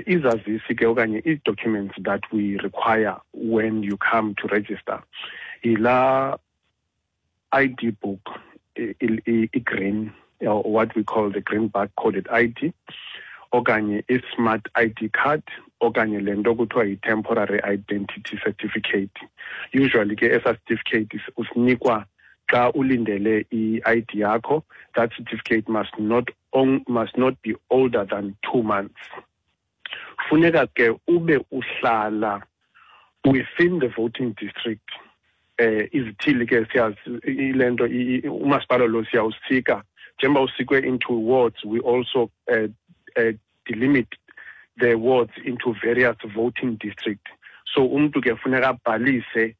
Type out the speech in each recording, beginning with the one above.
Izazisi ke okanye ii-documents that we require when you come to register yilaa ID book, i-green, or what we call the green bar coded ID, okanye i-smart ID card, okanye le nto kuthiwa yi-temporary identity certificate. Usually ke esa certificate usinikwa xa ulindele i-ID yakho. That certificate must not be older than 2 months. Funeka ke ube uhlala within the voting district. Izithili ke siyazi ile nto, umasipala lo siyawusika njengoba usikwe into wards. We also delimit the wards into various voting district, so umntu ke funeka abhalise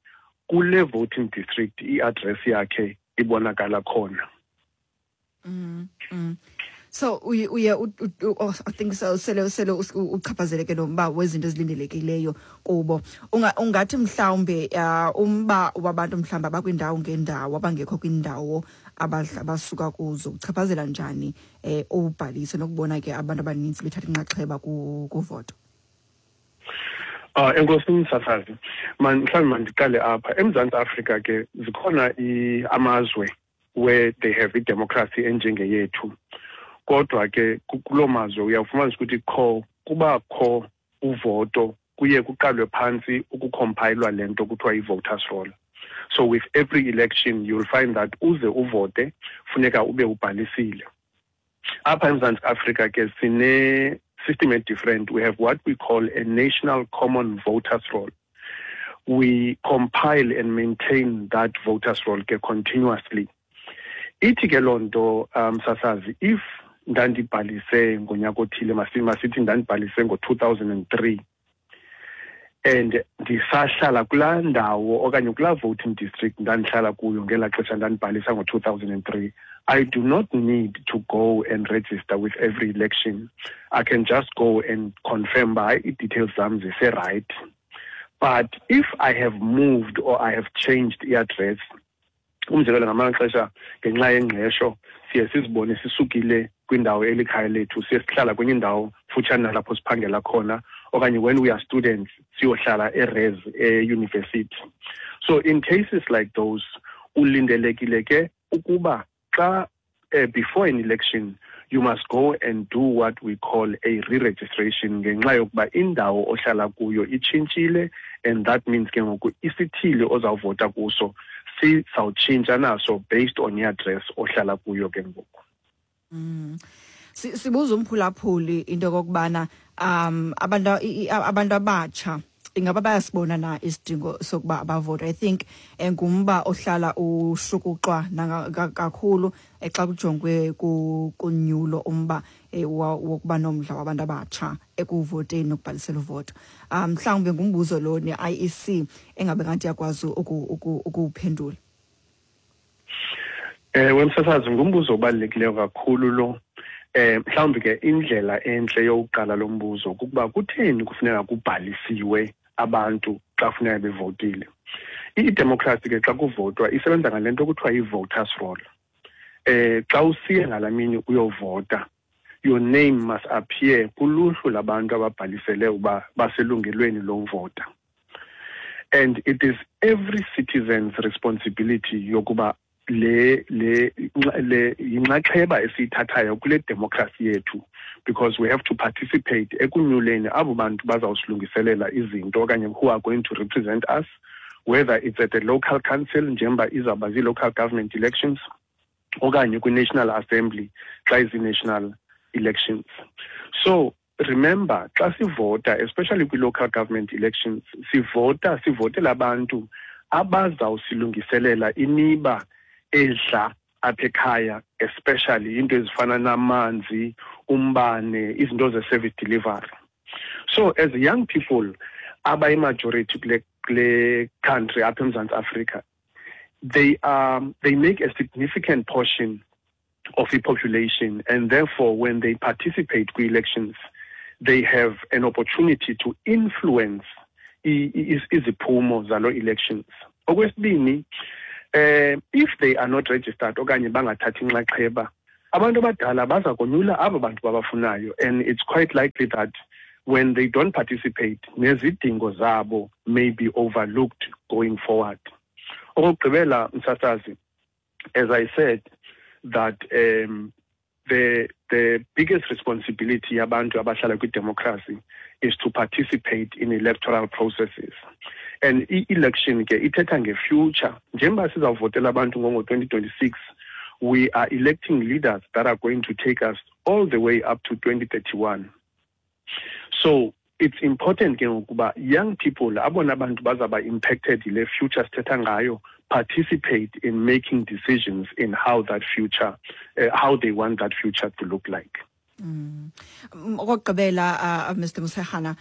kule voting district i-address yakhe ibonakala khona. So uye oh, I think so sele uchaphazeleke nomba wezinto ezilindelekileyo kubo. Ungathi mhlawumbe umba wabantu mhlawumbe abakwindawo ngendawo, abangekho kwindawo abasuka kuzo, uchaphazela njani ubhaliso nokubona ke abantu abaninzi bethatha inxaxheba kuvoto? Enkosi msasazi. Man, mhlawumbi mandiqale apha. EMzantsi Afrika ke zikhona amazwe where they have idemocracy enjengeyethu. Kodwa ke kuloo mazwe uyawufumanisa ukuthi kho kubakho uvoto, kuye kuqalwe phantsi ukucompilwa le nto kuthiwa yi-voters roll. So with every election you'll find that uze uvote funeka ube ubhalisile. Apha eMzantsi Afrika ke sine system different. We have what we call a national common voters roll. We compile and maintain that voters roll ke continuously. Ithi ke loo nto, sasazi, if ndandibhalise ngonyaka othile, masithi ndandibhalise ngo-2003 and ndisahlala kulaa ndawo okanye kulaa voting district ndandihlala kuyo ngelaa xesha ndandibhalisa ngo-2003, I do not need to go and register with every election. I can just go and confirm by ii-details zam ziserayithi. But if I have moved or I have changed i-address, umzekelo, ngamanye amaxesha ngenxa yengqesho siye sizibone sisukile kwindawo elikhaya lethu, siye sihlala kwenye indawo futshane nalapho siphangela khona, okanye when we are students siyohlala e-res eyunivesithi. So in cases like those, ulindelekile ke ukuba xa before an election you must go and do what we call a re-registration, ngenxa yokuba indawo ohlala kuyo itshintshile, and that means ke ngoku isithili ozawuvota kuso sizawutshintsha naso based on i-address ohlala kuyo ke ngoku. Sibuza umphulaphuli into kokubana abantu abatsha ingaba bayasibona na isidingo sokuba abavote. I think ngumba ohlala ushukuxwa kakhulu xa kujongwe kunyulo, umba wokuba nomdla wabantu abatsha ekuvoteni nokubhalisela uvoto. Mhlawumbe ngumbuzo lo ne-IEC engabe ngathi yakwazi ukuwuphendula. Ewe msasazi, ngumbuzo obalulekileyo kakhulu lo. Mhlawumbi ke indlela entle yokuqala lo mbuzo kukuba kutheni kufuneka kubhalisiwe abantu xa funeka bevotile. Idemocracy ke xa kuvotwa isebenza ngale nto kuthiwa yi-voters roll. Xa usiya ngalamini uyovota, your name must appear kuluhlu labantu ababhalisele uba baselungelweni lovota. And it is every citizen's responsibility yokuba le yinxaxheba esiyithathayo kule democracy yethu, because we have to participate ekunyuleni abo bantu bazawusilungiselela izinto okanye who are going to represent us, whether it's at the local council njengoba izawuba zii-local government elections, okanye kwi-National Assembly xa izi-national elections. So remember, xa sivota, especially kwi-local government elections, sivota sivotela abantu abazawusilungiselela imiba edla apha ekhaya, especially into ezifana namanzi, umbane, izinto ze-service delivery. So as young people abayi-majority kule country apha eMzantsi Afrika, they make a significant portion of the population, and therefore when they participate kwi-elections they have an opportunity to influence iziphumo zalo elections. Okwesibini, if they are not registered okanye bangathathi inxaxheba, abantu abadala baza konyula abo bantu babafunayo, and it's quite likely that When they don't participate, nezidingo zabo may be overlooked going forward. Okokugqibela, msasazi, as I said, that the biggest responsibility yabantu abahlala kwi-democracy is to participate in electoral processes. And i-election ke ithetha nge-future. Njengoba sizawuvotela abantu ngo-2026, we are electing leaders that are going to take us all the way up to 2031. So it's important ke ngokuba young people, abona bantu bazaba impacted yile future sithetha ngayo, participate in making decisions in how that future, how they want that future to look like. Okokugqibela, Mr Musehana,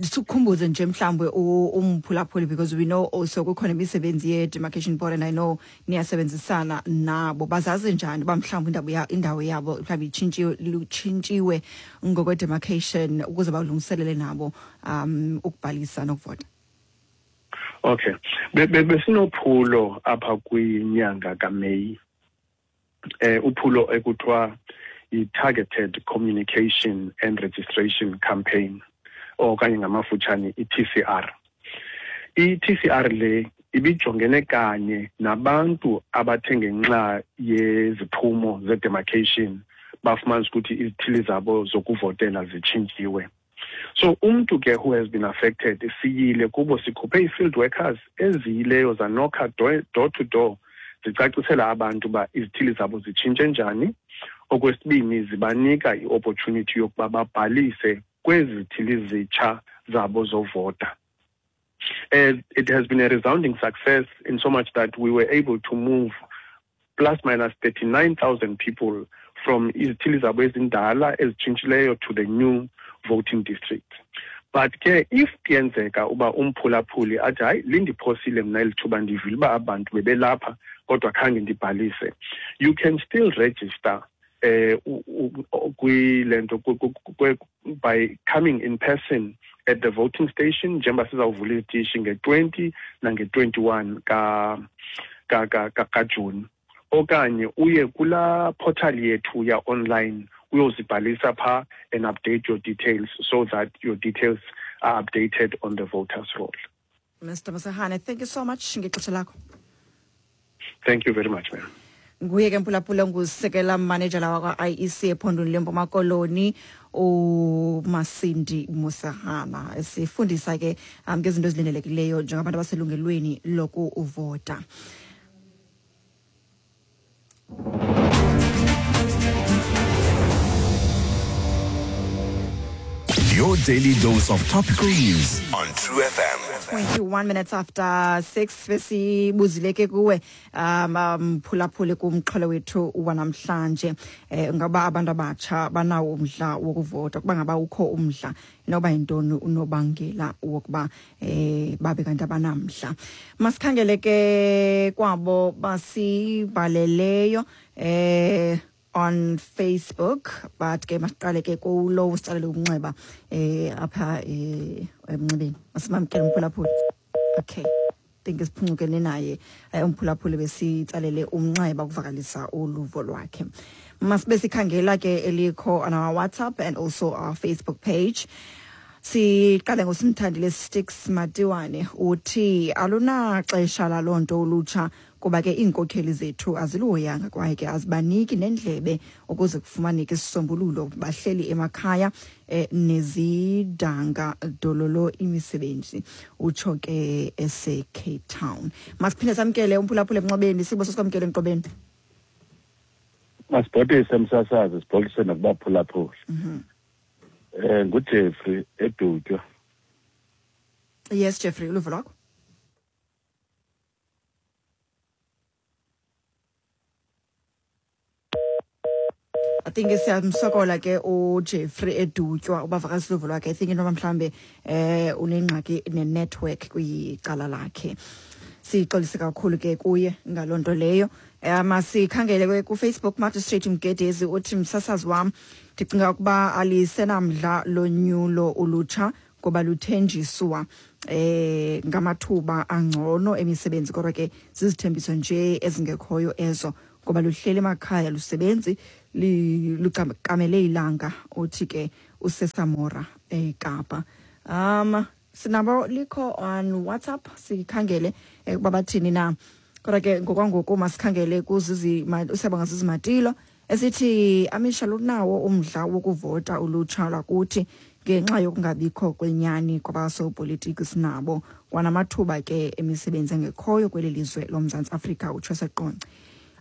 sikukhumbuze nje mhlawumbe umphulaphuli, because we know also kukhona imisebenzi ye-demarcation board and I know niyasebenzisana nabo. Bazazi njani uba mhlawumbi indawo yabo mhlawumbi itshintshiwe, lutshintshiwe ngokwe-demarcation ukuze balungiselele nabo ukubhalisa nokuvota? Okay. Besinophulo apha kwinyanga kaMeyi. Uphulo ekuthiwa i-Targeted Communication and Registration Campaign, okanye ngamafutshane i-TCR. I-TCR le ibijongene kanye nabantu abathe ngenxa yeziphumo ze-demarcation bafumanisa ukuthi izithili zabo zokuvotela zitshintshiwe. So umntu ke who has been affected, siyile kubo, sikhuphe ii-field workers eziyileyo zanokha door to door, zicacisela abantu uba izithili zabo zitshintshe njani. Okwesibini, zibanika i-opportunity yokuba babhalise kwezi zithili zitsha zabo zovota. It has been a resounding success in so much that we were able to move plus minus 39,000 people from izithili zabo ezindala ezitshintshileyo to the new voting district. But ke if kuyenzeka uba umphulaphuli athi, hayi, lindiphosile mna eli thuba, ndivile uba abantu bebelapha kodwa khange ndibhalise, you can still register kwile nto by coming in person at the voting station, njengoba sizawuvula izitishi nge-20 nange-21 kaJuni, okanye uye kulaa portal yethu ya-online uyozibhalisa phaa and update your details so that your details are updated on the voters roll. Mr Musehane, thank you so much ngexesha lakho. Thank you very much, ma'am. Nguye ke, mphulaphula, ngusekela manejala wakwa-IEC ephondweni leMpuma Koloni, uMasindi Musahana, sifundisa ke ngezinto ezilindelekileyo njengabantu abaselungelweni lokuvota. Your daily dose of topical news on True FM. 21 minutes after 6. Besibuzile ke kuwe, mphulaphuli, kumxholo wethu wanamhlanje, ngaba abantu abatsha banawo umdla wokuvota? Kuba ngaba ukho umdla, inoba yintoni unobangela wokuba babe kanti abanamdla? Masikhangele ke kwabo basibhaleleyo on Facebook, but ke masiqale ke kulo usitsalele umnxeba apha emnxebeni. Masimamkele umphulaphuli. Okay, think siphungukene naye umphulaphuli besitsalele umnxeba ukuvakalisa uluvo lwakhe. Masibe sikhangela ke elikho on our WhatsApp and also our Facebook page. Siqale ngoSimthandile Sticks Matiwane, uthi alunaxesha laloo nto ulutsha, kuba ke iinkokheli zethu aziluhoyanga kwaye ke azibaniki nendlebe ukuze kufumaneke isisombululo. Bahleli emakhaya nezidanga dololo imisebenzi. Utsho ke ese-Cape Town. Masiphinde samkele umphulaphula emnxebeni. Sibo, sasikwamkele emnxebeni. Masibhotise, msasazi, sibhotise nakubaphulaphuli. NguJeffrey eDutywa. Yes, Jeffrey, uluvo lwakho. I think siyamsokola ke uJeffrey eDutywa ubavakalisa uluvo lwakhe. I think intoba mhlambe unengxaki ne-network kwicala lakhe. Sixolise kakhulu ke kuye ngaloo nto leyo. Masikhangele ke kuFacebook. Magistrate Mgedezi uthi, msasazi wam, ndicinga ukuba alisenamdla lonyulo ulutsha ngoba luthenjiswa ngamathuba angcono emisebenzi, kodwa ke zizithembiso nje ezingekhoyo ezo, ngoba luhleli emakhaya lusebenzi, lukamele ilanga. Uthi ke useSamora eKapa. Sinabo likho on WhatsApp, sikhangele ukuba bathini na. Kodwa ke ngokwangoku masikhangele kuzizi usiyabonga Zizi Matilo esithi amisha lunawo umdla wokuvota ulutsha lwakuthi ngenxa yokungabikho kwenyani kwabasopolitiki sinabo kwanamathuba ke emisebenzi engekhoyo kweli lizwe loMzantsi Afrika, utsho seqonce.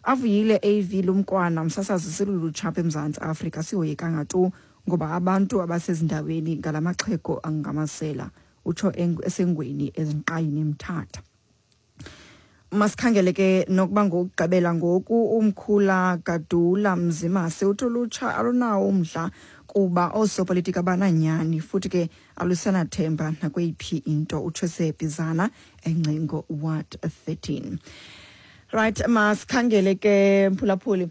Avuyile AV Lumkwana, msasazi silulutsha apha eMzantsi Afrika sihoyekanga tu ngoba abantu abasezindaweni ngalamaxhego angamasela, utsho esengweni ezinqayini eMthatha. Masikhangele ke nokuba ngokugqibela ngoku umkhula Gadula Mzimase uthi ulutsha alunawo umdla kuba oosopolitiki abananyani futhi ke alusanathemba nakweyiphi into, utsho sebhizana eNgcingo Ward 13. Right, masikhangele ke mphulaphuli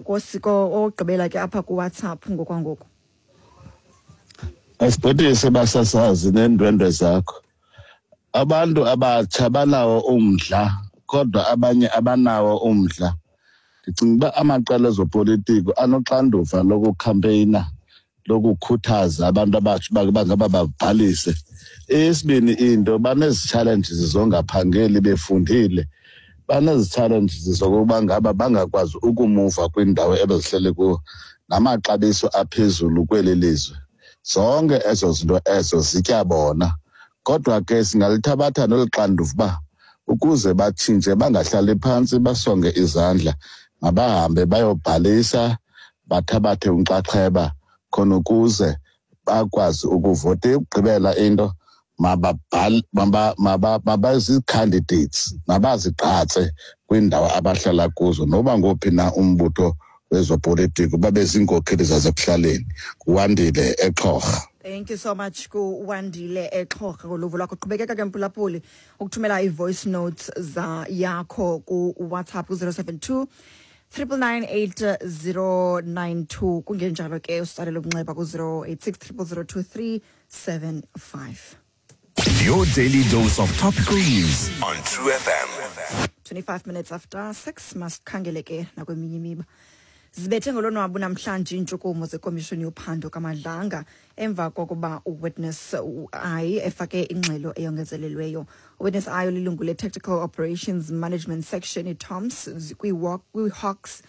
kosiko ogqibela ke apha ku WhatsApp ngokwangoku. Asibhodise basasazi neendwendwe zakho. Abantu abatsha banawo umdla kodwa abanye abanawo umdla. Ndicinga uba amaqela ezopolitiko anoxanduva lokukhampeyina, lokukhuthaza abantu abatsha uba bangaba babhalise. Eyesibini into, banezi-challenges zongaphangeli befundile, banezi-challenges zokuba ngaba bangakwazi ukumuva kwiindawo ebezihleli kuwo, namaxabiso aphezulu kweli lizwe. Zonke ezo zinto ezo zitya bona. Kodwa ke singalithabatha nolu xanduva uba ukuze batshintshe bangahlali phantsi basonge izandla, mabahambe bayobhalisa, bathabathe unxaxheba khona ukuze bakwazi ukuvota. Eyokugqibela into, mabazii-candidates, mabazigqatse kwiindawo abahlala kuzo, noba ngophi na umbutho wezopolitiko, babe ziinkokheli zasekuhlaleni. Nguwandile eXhorha. Thank you so much kuWandile eXhorha ngoluvo lwakho. Qhubekeka ke mphulaphuli ukuthumela i-voice notes za yakho ku-WhatsApp ku-072 9998092, kungenjalo ke usitsalele umnxeba ku-086 0002375. Your daily dose of topical news on True FM. 25 minutes after 6, masikhangele ke nakweminye imiba. Zibethe ngolonwabo namhlanje iintshukumo zekomishoni yophando kaMadlanga emva kokuba uWitness I efake ingxelo eyongezelelweyo. UWitness I olilungu le-Tactical Operations Management Section, iTOMS, kwi-Hawks,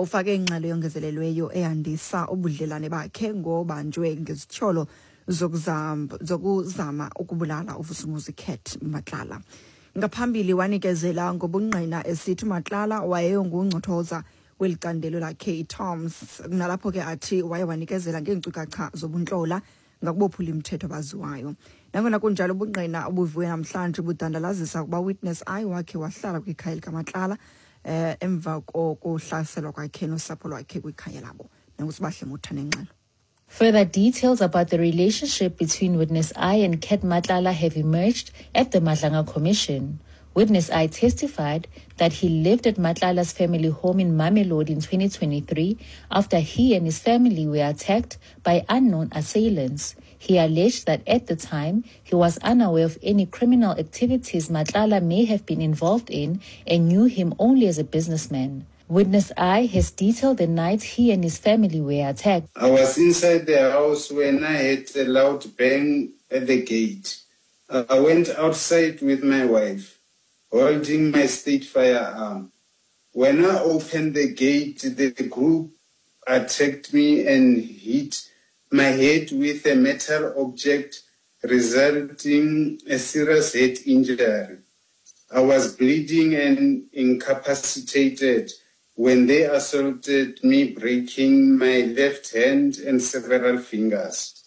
ufake ingxelo eyongezelelweyo eyandisa ubudlelane bakhe ngobanjwe ngezityholo zokuzama ukubulala uVusimuzi Cat Matlala. Ngaphambili wanikezela ngobungqina esithi uMatlala wayengungcothoza kweli candelo lakhe iTOMS, nalapho ke athi waye wanikezela ngeenkcukacha zobuntlola ngakubophula imithetho abaziwayo. Nangona kunjalo, ubungqina obuviwe namhlanje budandalazisa ukuba Witness I wakhe wahlala kwikhaya likaMatlala emva kokuhlaselwa kwakhe nosapho lwakhe kwikhaya labo. Nangusibahle Mutha nengxelo. Further details about the relationship between Witness I and Cat Matlala have emerged at the Madlanga Commission. Witness I testified that he lived at Matlala's family home in Mamelodi in 2023 after he and his family were attacked by unknown assailants. He alleged that at the time, he was unaware of any criminal activities Matlala may have been involved in and knew him only as a businessman. Witness I has detailed the night he and his family were attacked. I was inside the house when I heard a loud bang at the gate. I went outside with my wife, holding my state firearm. When I opened the gate, the group attacked me and hit my head with a metal object, resulting a serious head injury. I was bleeding and incapacitated when they assaulted me, breaking my left hand and several fingers.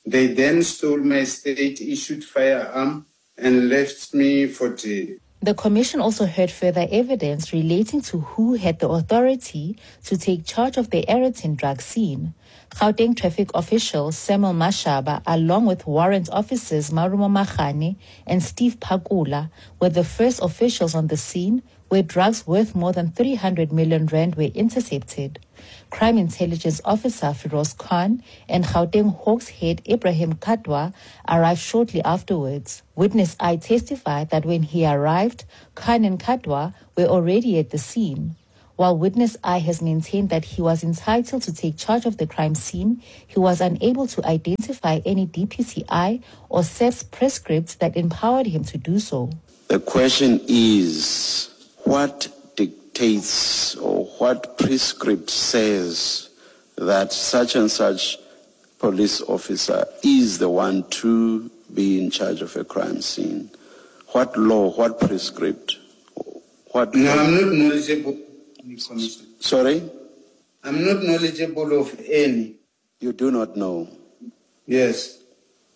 They then stole my state-issued firearm and left me for dead. The commission also heard further evidence relating to who had the authority to take charge of the Aeroton drug scene. Gauteng traffic official Samuel Mashaba, along with warrant officers Marumo Makhane and Steve Pakula, were the first officials on the scene where drugs worth more than 300 million rand were intercepted. Crime intelligence officer Firoz Khan and Gauteng Hawks head Ibrahim Kadwa arrived shortly afterwards. Witness I testified that when he arrived, Khan and Kadwa were already at the scene. While witness I has maintained that he was entitled to take charge of the crime scene, he was unable to identify any DPCI or SAPS prescripts that empowered him to do so. The question is, what dictates or what prescript says that such and such police officer is the one to be in charge of a crime scene? What law, what prescript? What No, I'm not knowledgeable. Sorry? I'm not knowledgeable of any. You do not know? Yes.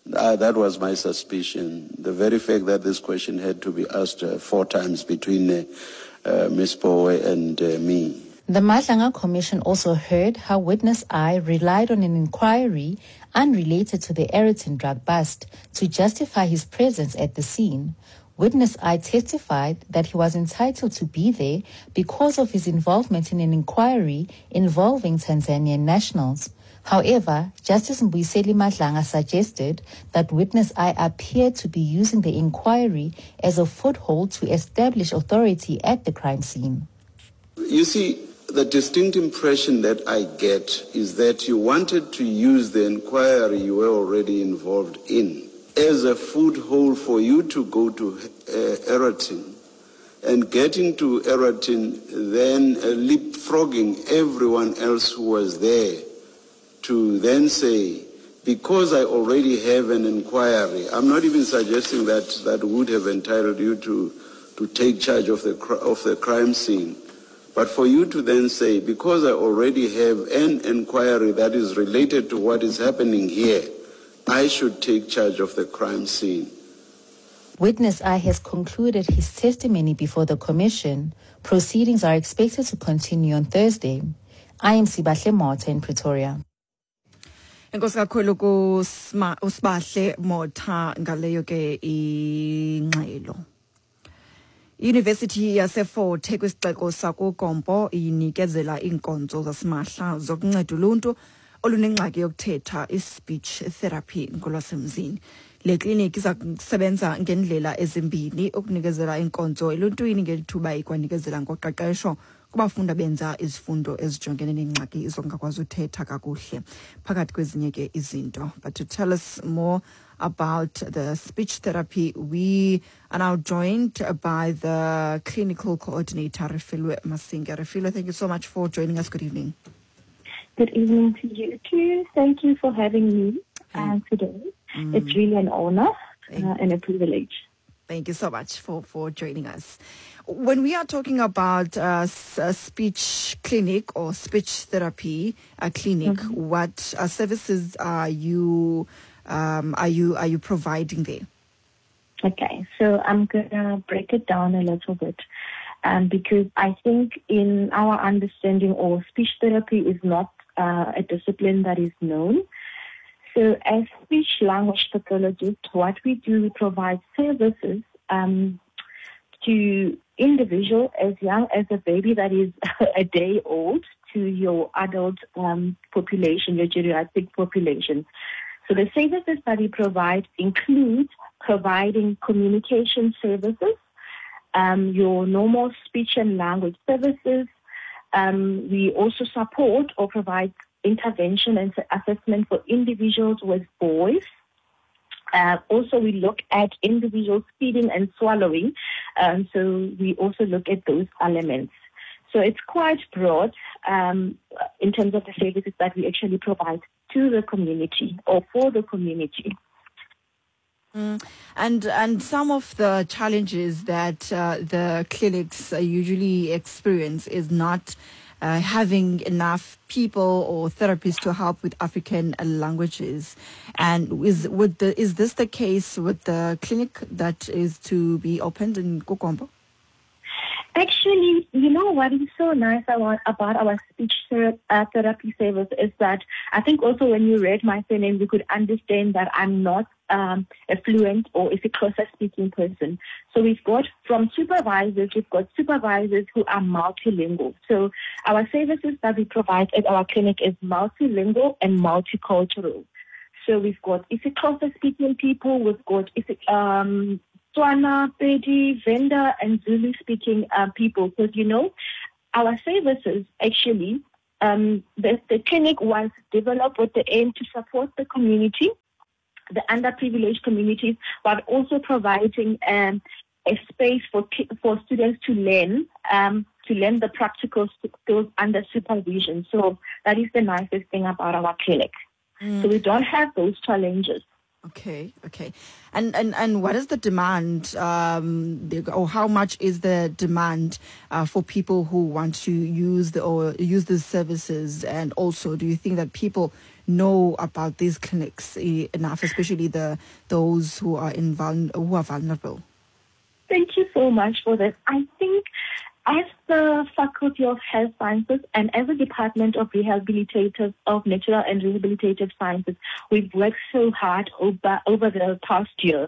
That was my suspicion. The very fact that this question had to be asked 4 times between Ms. Pooe and me. The Madlanga Commission also heard how witness I relied on an inquiry unrelated to the Aeroton drug bust to justify his presence at the scene. Witness I testified that he was entitled to be there because of his involvement in an inquiry involving Tanzanian nationals. However, Justice Mbuyiseli Madlanga suggested that witness I appeared to be using the inquiry as a foothold to establish authority at the crime scene. You see, the distinct impression that I get is that you wanted to use the inquiry you were already involved in as a foothold for you to go to Aeroton, and getting to Aeroton, then leapfrogging everyone else who was there to then say, because I already have an inquiry, I'm not even suggesting that that would have entitled you to take charge of the crime scene. But for you to then say, because I already have an inquiry that is related to what is happening here, I should take charge of the crime scene. Witness I has concluded his testimony before the commission. Proceedings are expected to continue on Thursday. I am Sibahle Motha in Pretoria. Enkosi kakhulu kuSibahle Motha ngaleyo ke ingxelo. University yaseFort Hare kwisixeko sakuGompo inikezela iinkonzo zasimahla zokunceda uluntu olunengxaki yokuthetha, i-speech therapy ngolwasemzini. Le kliniki iza kusebenza ngendlela ezimbini ukunikezela iinkonzo eluntwini ngelithuba ikwanikezela ngoqeqesho kubafundi abenza izifundo ezijongene neengxaki zokungakwazi uthetha kakuhle, phakathi kwezinye ke izinto. But to tell us more about the speech therapy, we are now joined by the clinical coordinator, Refilwe Masinga. Refilwe, thank you so much for joining us. Good evening. Good evening to you too. Thank you for having me today. It's really an honor and a privilege. Thank you so much for joining us. When we are talking about a speech clinic or speech therapy clinic, what services are you providing there? Okay, so I'm gonna break it down a little bit, because I think in our understanding, or speech therapy is not a discipline that is known. So as speech language pathologists, what we do, we provide services to individuals as young as a baby that is a day old to your adult population, your geriatric population. So the services that we provide include providing communication services, your normal speech and language services. We also support or provide intervention and assessment for individuals with voice. Also, we look at individuals feeding and swallowing. So we also look at those elements. So it's quite broad in terms of the services that we actually provide to the community or for the community. And some of the challenges that the clinics usually experience is not having enough people or therapists to help with African languages. And is this the case with the clinic that is to be opened in KuGompo? Actually, you know what is so nice about our speech therapy service is that I think also when you read my surname, you could understand that I'm not a fluent or isiXhosa speaking person. So we've got from supervisors, we've got supervisors who are multilingual. So our services that we provide at our clinic is multilingual and multicultural. So we've got isiXhosa speaking people, we've got Tswana, Pedi, Venda, and Zulu-speaking people. Because, you know, Our services actually, the clinic was developed with the aim to support the community, the underprivileged communities, but also providing a space for students to learn the practical skills under supervision. So that is the nicest thing about our clinic. So we don't have those challenges. Okay. And what is the demand, or how much is the demand for people who want to use these services? And also, do you think that people know about these clinics enough, especially those who are who are vulnerable? Thank you so much for that. I think as the Faculty of Health Sciences and as a Department of Rehabilitative of Natural and Rehabilitative Sciences, we've worked so hard over the past year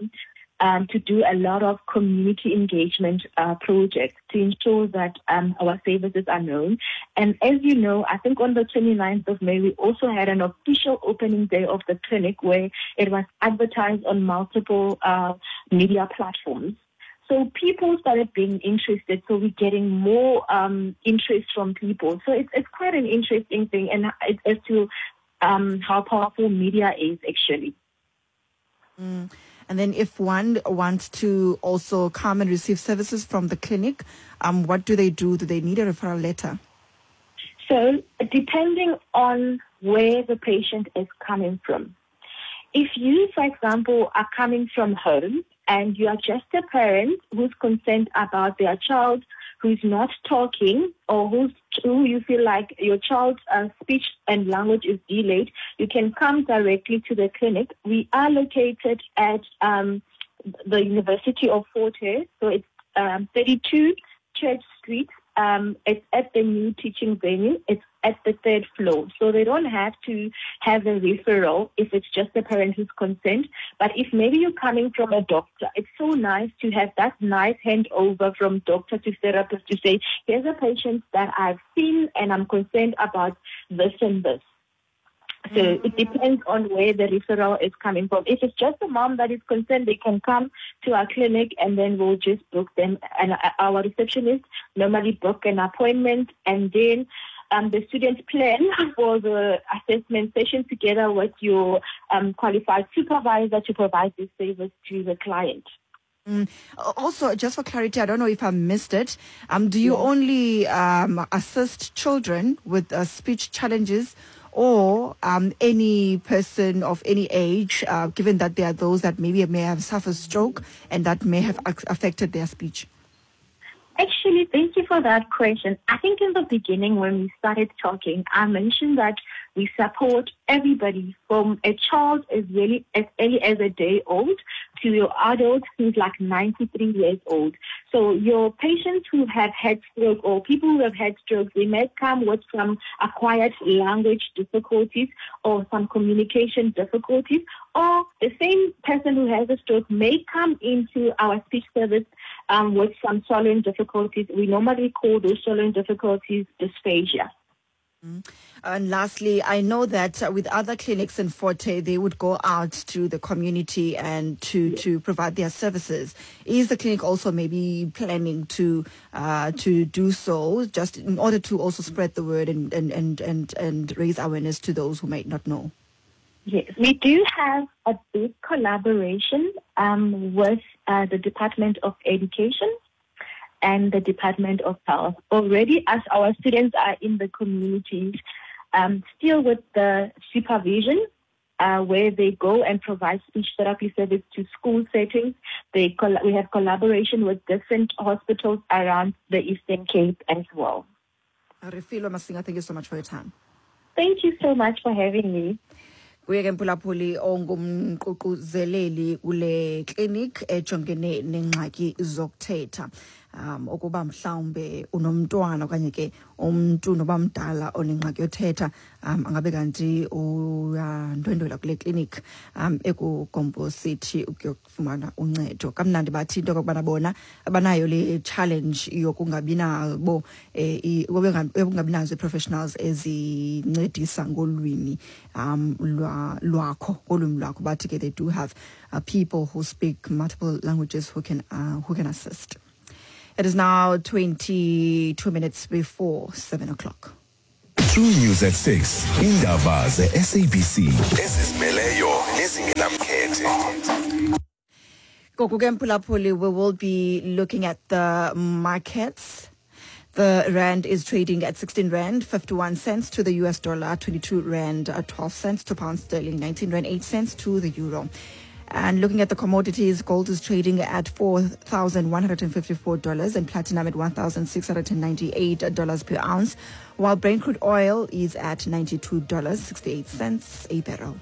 to do a lot of community engagement projects to ensure that our services are known. And as you know, I think on the 29th of May, we also had an official opening day of the clinic where it was advertised on multiple media platforms. So people started being interested. So we're getting more interest from people. So it's quite an interesting thing, and as to how powerful media is actually. Mm. And then if one wants to also come and receive services from the clinic, what do they do? Do they need a referral letter? So depending on where the patient is coming from. If you, for example, are coming from home and you are just a parent who's concerned about their child who's not talking or who you feel like your child's speech and language is delayed, you can come directly to the clinic. We are located at the University of Fort Hare, so it's 32 Church Street. It's at the new teaching venue. It's at the third floor. So they don't have to have a referral if it's just the parent who's concerned. But if maybe you're coming from a doctor, it's so nice to have that nice handover from doctor to therapist to say, here's a patient that I've seen and I'm concerned about this and this. So it depends on where the referral is coming from. If it's just a mom that is concerned, they can come to our clinic and then we'll just book them. And our receptionist normally book an appointment, and then the students plan for the assessment session together with your qualified supervisor to provide this service to the client. Mm. Also, just for clarity, I don't know if I missed it. Do you only assist children with speech challenges, or any person of any age, given that there are those that maybe may have suffered stroke and that may have affected their speech? Actually, thank you for that question. I think in the beginning when we started talking, I mentioned that we support everybody from a child as early as a day old to your adult who's like 93 years old. So your patients who have had stroke or people who have had strokes, they may come with some acquired language difficulties or some communication difficulties, or the same person who has a stroke may come into our speech service with some swallowing difficulties. We normally call those swallowing difficulties dysphagia. And lastly, I know that with other clinics in Fort Hare, they would go out to the community and to provide their services. Is the clinic also maybe planning to do so, just in order to also spread the word and raise awareness to those who might not know? Yes, we do have a big collaboration with the Department of Education and the Department of Health. Already, as our students are in the communities, still with the supervision, where they go and provide speech therapy service to school settings. We have collaboration with different hospitals around the Eastern Cape as well. Refilwe Masinga, thank you so much for your time. Thank you so much for having me. Kuye ke mphulaphuli ongumququzeleli kule clinic ejongene nengxaki zokuthetha. Ukuba mhlawumbe unomntwana okanye ke umntu noba mdala onengxaki yothetha, angabe kanti uyandwendwela kule clinic ekuGompo City ukuyofumana uncedo. Kamnandi bathi into okokubana bona abanayo le challenge yokungabi nabo yokungabi nazo ii-professionals ezincedisa ngolwimi lwakho, ngolwimi lwakho. Bathi ke they do have people who speak multiple languages who can assist. It is now 22 minutes before 7 o'clock. True News at 6. Indaba ze-SABC ezizimeleyo nezingenamkhethe. Ngoku ke mphulaphuli, we will be looking at the markets. The rand is trading at 16 rand 51 cents to the US dollar, 22 rand 12 cents to pound sterling, 19 rand 8 cents to the euro. And looking at the commodities, gold is trading at $4,154 and platinum at $1,698 per ounce, while Brent crude oil is at $92.68 a barrel.